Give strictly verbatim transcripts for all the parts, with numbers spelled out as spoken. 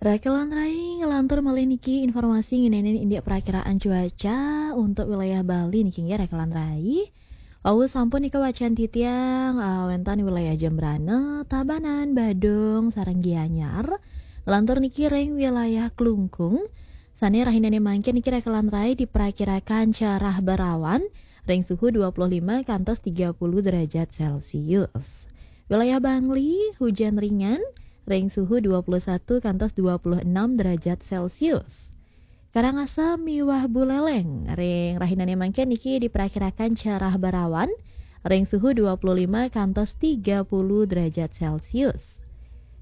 Rakelan Rai ngelantur malih niki informasi ngenenin indik perakiraan cuaca untuk wilayah Bali niki nggih Rakelan Rai. Wau sampun nika wacan titiang, eh, wénten wilayah Jembrana, Tabanan, Badung, sareng Gianyar. Ngelantur niki ring wilayah Klungkung. Sane rahinane mangkin niki Rakelan Rai diperakirakan cerah berawan ring suhu dua puluh lima kantos tiga puluh derajat Celcius. Wilayah Bangli hujan ringan ring suhu dua puluh satu kantos dua puluh enam derajat Celcius. Karangasem miwah Buleleng ring rahinane mangkin niki diperakirakan cerah berawan ring suhu dua puluh lima kantos tiga puluh derajat Celcius.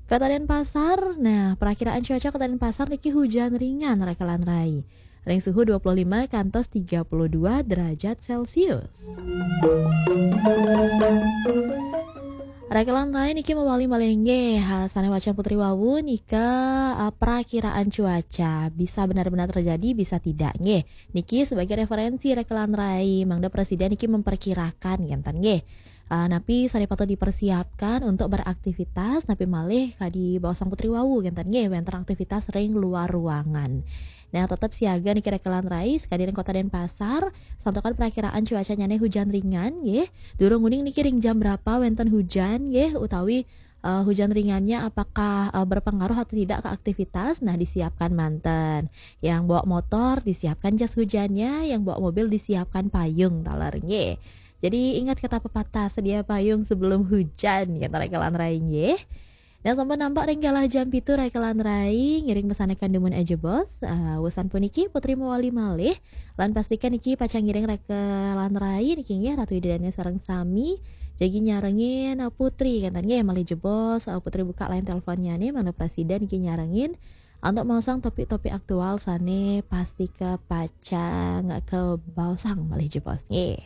Kota Denpasar, nah, perakiraan cuaca Kota Denpasar niki hujan ringan Rakelan Rai. Ring suhu dua puluh lima kantos tiga puluh dua derajat Celcius. Rakelan Rai niki mawali malih nggih, ha, sane wacan Putri wau nika, eh, perakiraan cuaca bisa benar-benar terjadi, bisa tidak nggih. Niki sebagai referensi Rakelan Rai, mangda presiden niki memperkirakan ngenten nggih. Eh, napi sane patut dipersiapkan untuk beraktivitas, napi malih kadi baosang Putri wau ngenten nggih, wenten aktivitas ring luar ruangan. Nah, tetep siaga niki Rakelan Rai, sekadi ring Kota Denpasar, santukan perakiraan cuacanyane hujan ringan nggih. Durung uning niki ring jam berapa wenten hujan nggih, utawi, eh, hujan ringannya apakah, eh, berpengaruh atau tidak ke aktivitas. Nah, disiapkan manten. Yang bawa motor disiapkan jas hujannya, yang bawa mobil disiapkan payung taler nggih. Jadi ingat kata pepatah, sedia payung sebelum hujan, kata Rakelan Rai nggih. Nah, sampun nampak ring galah jam pitu Rakelan Rai, ngiring pesanan dumun aja bos. Ah, wusan puniki Putri mawali malih, lan pastikan niki pacang ngiring Rakelan Rai niki nggih Ratu Ida Dane sareng sami. Jagi nyarengin, ah, Putri kenten nggih malih jebos, ah, Putri buka line teleponnya nih, mangda presiden niki nyarengin. Untuk maosang topik-topik aktual sane pastika pacang kebaosang malih jebos nggih.